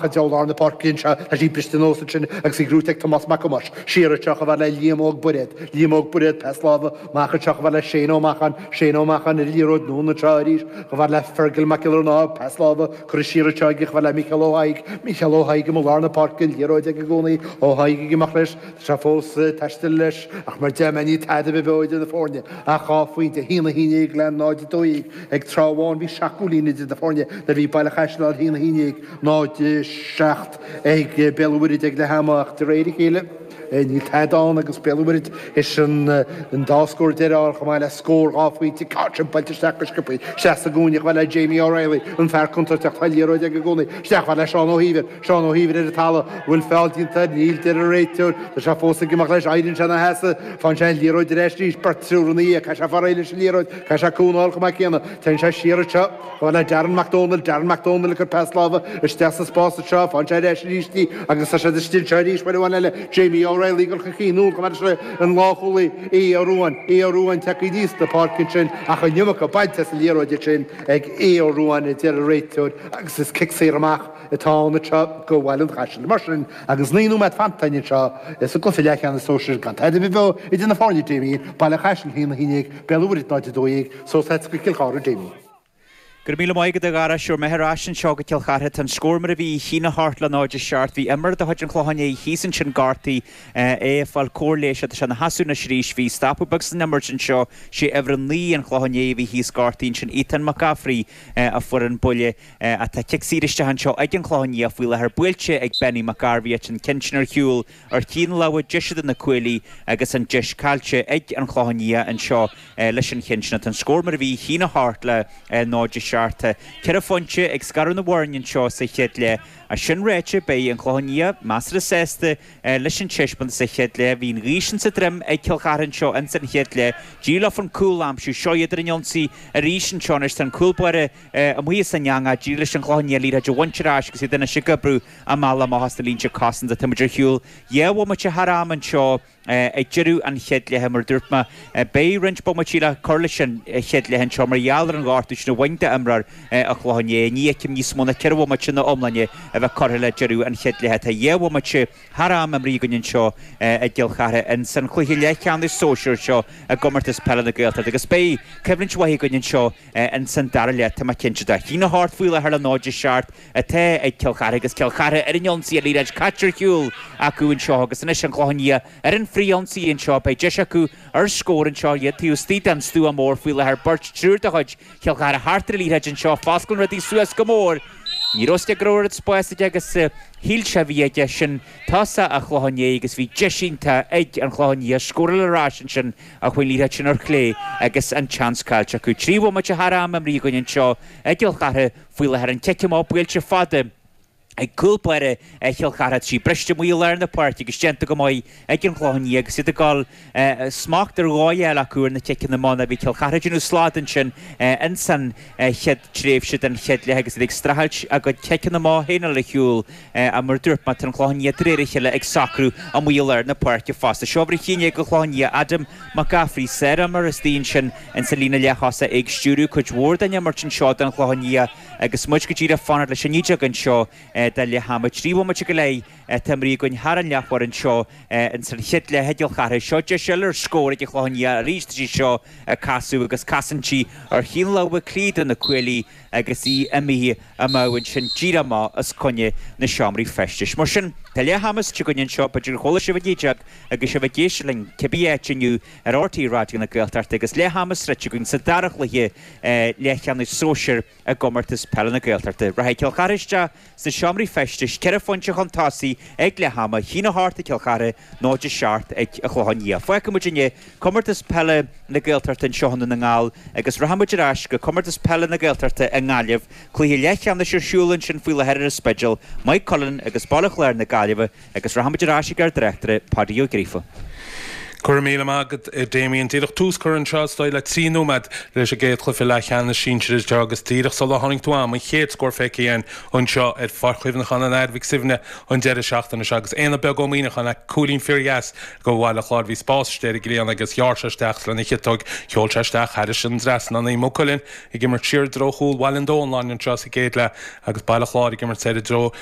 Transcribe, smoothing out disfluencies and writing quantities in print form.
Amach i dtreo lár na páirce anseo, tá sí briste anuas ansin agus í gnóite ag Tomás Mac Thomáis. Siar anseo chomh fada le Liam Óg Bairéad. Liam Óg Bairéad, pas láimhe amach anseo chomh fada le Shane Ó Macháin. Shane Ó Macháin ar an liathróid anonn anseo arís chomh fada le Fergal Mac Giollarnáth. Pas láimhe curtha siar anseo aige chomh fada le Mícheál Ó hAigh. Mícheál Ó hAigh amuigh lár na páirce, an liathróid aige i gcónaí. Ó hAigh ag imeacht leis. Tá sé fós ag taisteal leis ach mar deir mé níl tada ar bith beo idir na foirne ach 2 phointe, 1-11 le 0-12. Ag tráth amháin bhí 7 gcúilín idir na foirne nuair a bhí Baile Chaisil 1-11, 0-7 ag Béal an Mhuirthead ag leath ama ach de réir a chéile níl tada ann agus Béal an Mhuirthead théis an dá scór deiridh a fháil chomh maith le scór 2 phointe sin buailte isteach go sciobtha isteach sa gcúinne chomh fada le Jamie O'Reilly an fear contúirteach tá an liathróid aige i gcónaí isteach chomh fada le Seán Ó hÍomhair Seán Ó hÍomhair ar an talamh, an bhfuil feall déanta air, níl, deir an réiteoir. Tá sé fós ag imeacht leis, éiríonn sé ina sheasamh, faigheann sé an liathróid ar ais arís, beirt triúr ina dhiaidh, caithfidh sé fáil réidh leis an liathróid, caithfidh sé cúnamh a fháil chomh maith céanna. Téann sé siar anseo, chomh fada le Darren Mac Dónaill, Darren Mac Dónaill ag cur pas láimhe isteach sa spás anseo, faigheann sé ar ais arís í agus tá siad istigh anseo arís, uair amháin eile, Jamie O'Reilly ag dul chun cinn, anonn chomh fada leis an lánchúlaí, Aodh Ó Ruáin, Aodh Ó Ruáin tagtha aníos na páirce ansin ach an iomarca bainte as an liathróid ansin ag Aodh Ó Ruáin, a deir an réiteoir agus is cic saor amach atá ann anseo do Bhaile an Chaisil. Mar sin, agus 9 nóiméad fanta againn anseo sa gcluiche leathcheannais sóisir gan tada ar bith beo idir na foirne, Damien, Baile an Chaisil 1-11, Béal an Mhuirthead 0-12, suas leat go Cill Chartha, Damien. Go raibh míle maith agat a Dhara, sure mé ar ais anseo go Cill Chartha. Tá an scór mar a bhí, 1-8 le 0-7. Bhí imreoir de chuid an Chlocháin Léith thíos ansin gortaithe, é ag fáil cóir leighis. Tá sé ina sheasamh anois arís. Bhí stopadh beag san imirt anseo. Sé uimhir a 9 an Chlocháin Léith a bhí thíos gortaithe ansin, Ethan McCaffrey a fuair an buille. Tá cic saor isteach anseo ag an Chlochán Liath faoi láthair, buailte ag Benny McGarvey an ceann sin ar shiúl ar thaobh na láimhe deise de na cuaillí agus an deis caillte ag an Chlochán Liath anseo leis an cheann sin. Tá an scór mar a bhí, 1-8 le 0-7. Ceithre phointe ag scaradh na bhfoirne anseo sa chéad leath. As sin ráite, beidh an Clochán Liath measartha sásta leis an taispeántas sa chéad leath. Bhí an ghaoth sin sa droim ag Cill Chartha anseo ins an chéad leath. D'éirigh leo an cúl a aimsiú. Seo iad ar an ionsaí arís anseo anois. Tá an cúl báire Amuigh as an eangach, d'éirigh leis an Chlochán Liath liathróid a bhaint ar ais agus iad anois ag oibriú a mbealach amach as na línte cosanta. Tá muid ar shiúl 2 bhomaite thar am anseo ag deireadh an chéad leithe. Mar a dúirt mé, beidh roinnt bomaití le cur leis an chéad leath anseo mar gheall ar an ghortú sin a bhain d'imreoir an Chlocháin Léith. Ní fheicim níos mó ná 4 bhomaite ina iomláine a bheith curtha le deireadh an chéad leithe. Tá 2 bhomaite thar am imrithe againn anseo i gCill Chartha ins an chluiche leathcheannais sóisir seo i gComórtas Peile na Gaeltachta agus beidh coimhlint mhaith againn anseo ins an dara leath, tá mé cinnte de. 1-8 faoi láthair le 0-7 atá ag Cill Chartha agus Cill Chartha ar an ionsaí, an liathróid caite ar shiúl acu anseo agus anois an Clochán Liath ar an frith-ionsaí anseo. Beidh deis acu ar scór anseo, iad taobh istigh den stua mór faoi láthair. Beirt, triúr de chuid Chill Chartha thart ar an liathróid anseo. Fosclann rudaí suas go mór. Ní raibh a fhios aige go raibh oiread spáis aige agus shíl sé a bhí aige. Sin tosach an Chlocháin Léith agus bhí deis iontach ag an Chlochán Liath scóráil ar ais ansin ach chuaigh an liathróid sin ar chlé agus an tseans caillte acu. 3 bhomaite thar am imrithe againn anseo i gCill Chartha faoi láthair. An cic amach buailte fada ag cúl báire Chill Chartha. Tá sí briste amuigh i lár na páirce agus déanta go maith ag an Chlochán Liath agus iad ag dul smacht ar dhóigh a fháil acu ar na ciceanna amach. Bhí Cill Chartha ag déanamh slad ansin ins an chéad tréimhse den chéad leath agus iad ag streachailt a gcuid ciceanna amach féin a fháil ar shiúl. Mar a dúirt mé, tá an Clochán Liath de réir a chéile ag socrú amuigh i lár na páirce fosta. Seo uimhir 11 an Chlocháin Liath, Adam McCaffrey, sárimreoir istigh ansin ins an líne leath-thosaigh, é ag stiúradh cuid mhór den imirt anseo don Chlochán Liath agus muid go díreach ag fanacht leis an 19 anseo de leath ama. 3 bhomaite go leith atá imrithe againn thar an leathuair anseo ins an chéad leath i gCill Chartha. Seo deis eile ar scór ag an Chlochán Liath arís. Tá sí seo ag casadh agus casann sí ar thaobh na láimhe clí de na cuaillí agus í imithe amach ansin díreach amach os coinne na seomraí feistis. Mar sin, tá leath ama suite againn anseo, b'fhéidir gur chuala sibh an 19 agus sibh ag éisteacht linn cibé áit inniu ar RTÉ Raidió na Gaeltachta agus leath ama sroichte againn sa dara chluiche leathcheannais sóisir i gComórtas Peile na Gaeltachta. Rachaidh Cill Chartha isteach sna seomraí feistis, 4 phointe chun tosaigh ag leath ama, 1-8 ag Cill Chartha, 0-7 ag An Clochán Liath. Fágfaidh muid inniu Comórtas Peile na Gaeltachta anseo i nDún na nGall agus rachaidh muid ar ais go Comórtas Peile na Gaeltachta i nGaillimh. Cluiche leathcheannais ar siúl ansin faoi láthair ar an Spidéal, Maigh Cuilinn agus Baile Chláir na Gaillimhe agus rachaidh muid ar ais ag ár dtráchtaire Páidí Ó Gríofa. Go raibh míle maith agat, a Damien. Díreach tús curtha anseo, is dóigh, le 3 nóiméad leis an gcéad chluiche leathcheannais sinsir anseo agus díreach sula tháinig tú a'm, an chéad scór feicthe againn anseo ar Pháirc Chuimhneacháin an Athar Mhic Suibhne an deireadh seachtaine seo agus Éanna Beag Ó Muíneacháin le cúilín fíordheas do Bhaile Chláir. Bhí spás istigh ar an gcliathán agus ghearr sé isteach lena chiotóg. Sheol sé isteach thairis an dtrasnán í. Maigh Cuilinn ag imirt siar i dtreo chúl Bhaile an Domhnalláin anseo sa gcéad leath agus Baile Chláir ag imirt soir i dtreo.